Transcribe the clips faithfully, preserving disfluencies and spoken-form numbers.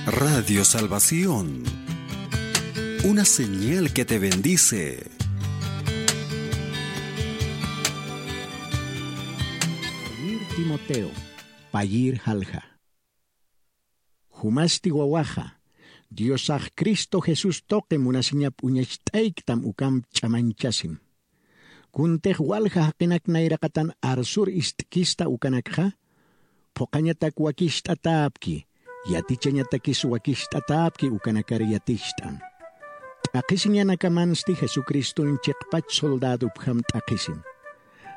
Radio Salvación, una señal que te bendice. Payir Timoteo, payir jalja. Jumasti wawaxa, Diosax Cristo Jesús tuqi munasiñap uñacht'ayktam ukamp ch'amañchasim. Kuntix walja jaqinak nayraqatan arsur ist'kista ukanakxa, phuqhañatak wakicht'atäpki, yatichañatakis wakicht'atäpki ukanakar yaticht'an. T'aqhisiñanakamansti Jesucriston chiqpach soldädupjam t'aqhisim.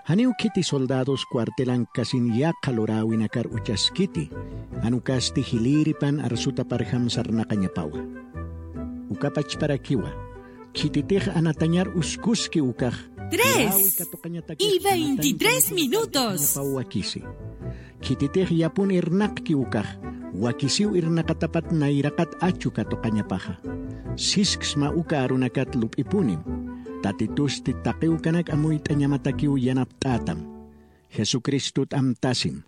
Janiw khiti soldädos cuartelankasin yaqha luräwinakar uchaskiti, jan ukasti jilïripan arsutaparjam sarnaqañapawa. Uka pachparakiwa, khititix anatañar uskuski ukax, tres y veintitrés minutos. Wakisi. Khititix yapun irnaqki ukax, wakisiw irnaqatapat nayraqat achu katuqañapaxa. Sisksma uka arunakat lup'ipunim. Tatitusti taqi ukanak amuyt'añamatakiw yanapt'ätam. Jesucristut amtasim.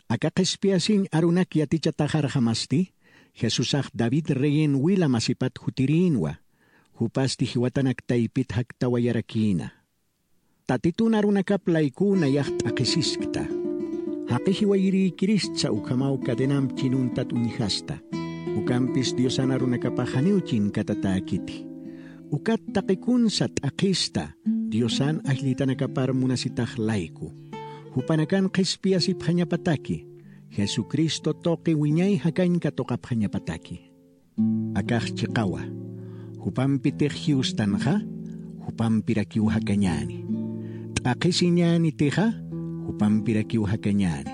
Aka qhispiyasiñ arunak yatichataxarxamasti, Jesusax David reyin wila masipat jutirïnwa, jupasti jiwatanak taypit jaktawayarakïna. Tatitun arunakap laykuw nayax t'aqhisiskta. Jaqi jiwayirïkiristsa ukhamaw cadenamp chinuntat uñjasta. Ukampis Diosan arunakapax janiw chinkatatäkiti. Ukat taqikunsa t'aqhista, Diosan ajllitanakapar munasitax layku. Jupanakan qhispiyasipxañapataki, Jesucristo tuqi wiñay jakañ katuqapxañapataki. Akax chiqawa, jupampitix jiwstanxa, jupampirakiw jakañäni. T'aqhisiñänitixa, jupampirakiw jakañäni.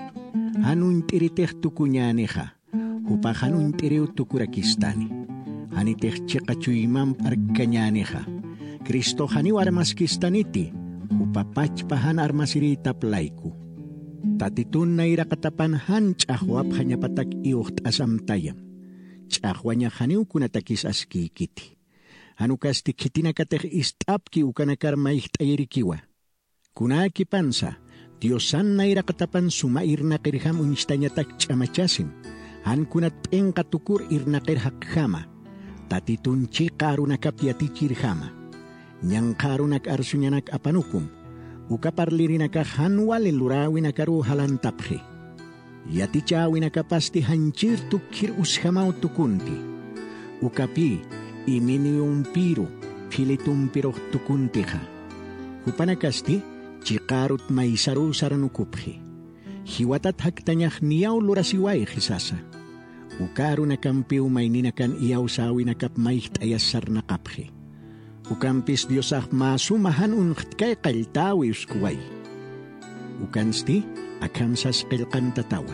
Jan uñt'iritix tukuñänixa, jupax jan uñt'iriw tukurakistani. Janitix chiqa chuymamp arkkañänixa, Cristox janiw armaskistaniti, jupa pachpa jan armasirïtap layku. Tatitun nayraqatapan jan ch'axwapxañapatak iwxt'asamtayam. Ch'axwañax janiw kunatakis askïkiti. Jan ukasti khitinakatix ist'apki ukanakar mayjt'ayirikiwa. Kunäkipansa, Diosan nayraqatapan suma irnaqirjam uñstañatak ch'amachasim, jan kunat p'inqa tukur irnaqir jaqjama, Tatitun chiqa arunakap yatichirjama. Ñanqha arunak arsuñanak apanukum, uka parlirinakax jan wali luräwinakaruw jalantapxi. Yatichäwinakapasti janchir tukkir usjamaw tukunti. Ukapï Himeneumpïru Filetompirux tukuntixa. Jupanakasti chiqa arut maysaruw saranukupxi. Jiwatat jaktañax niyaw lurasiwayxi sasa. Uka arunakampiw mayninakan iyawsäwinakap mayjt'ayas sarnaqapxi. Ukampis Diosax mä suma jan unxtkay qalltäwi uskuway. Ukansti akham sas qillqantatawa.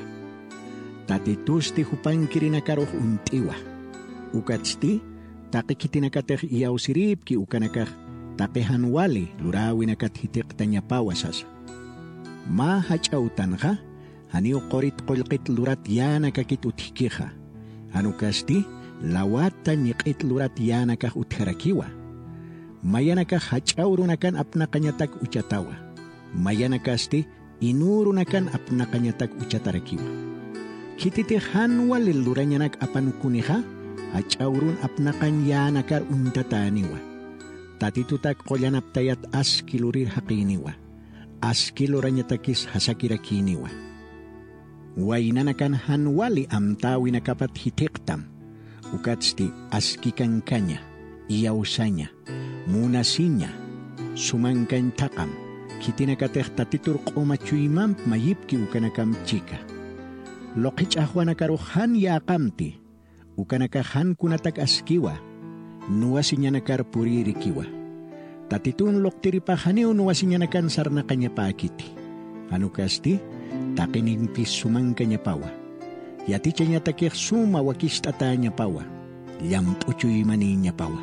Tatitusti jupankirinakarux uñt'iwa. Ukatsti taqi khitinakatix iyawsirïpki ukanakax taqi jan wali luräwinakat jithiqtañapawa sasa. Mä jach'a utanxa, janiw qurit qullqit lurat yänakakit utjkixa. Jan ukasti lawata ñiq'it lurat yänakax utjarakiwa. Mayanakax jach'a urunakan apnaqañatak uchatawa. Mayanakasti inü urunakan apnaqañatak uchatarakiwa. Khititix jan wali lurañanak apanukunixa, jach'a urun apnaqañ yänakar uñtatäniwa. Tatitutak qullanaptayat aski lurir jaqïniwa. Aski lurañatakis jasakirakïniwa. Waynanakan jan wali amtäwinakapat jithiqtam. Ukatsti aski kankaña, iyawsaña, munasiña, sumankañ thaqam, khitinakatix Tatitur q'uma chuymamp mayipki ukanakamp chika. Luqhi ch'axwanakarux jan yäqamti, ukanakax jan kunatak askiwa, nuwasiñanakar purïrikiwa. Tatitun luqtiripax janiw nuwasiñanakan sarnaqañapäkiti. Jan ukasti, taqinimpis sumankañapawa. Yatichañatakix suma wakicht'atäñapawa, llamp'u chuymanïñapawa.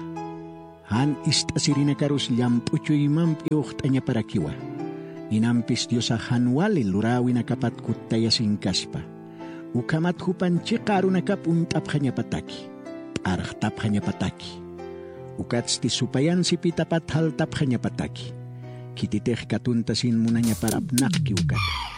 Jan ist'asirinakarus llamp'u chuymamp iwxt'añaparakiwa. Inampis Diosax jan wali luräwinakapat kuttayasinkaspa. Ukhamat jupan chiqa arunakap uñt'apxañapataki, p'arxtapxañapataki. Ukatsti supayan sipitapat jaltapxañapataki. Khititix katuntasin munañapar apnaqki ukat.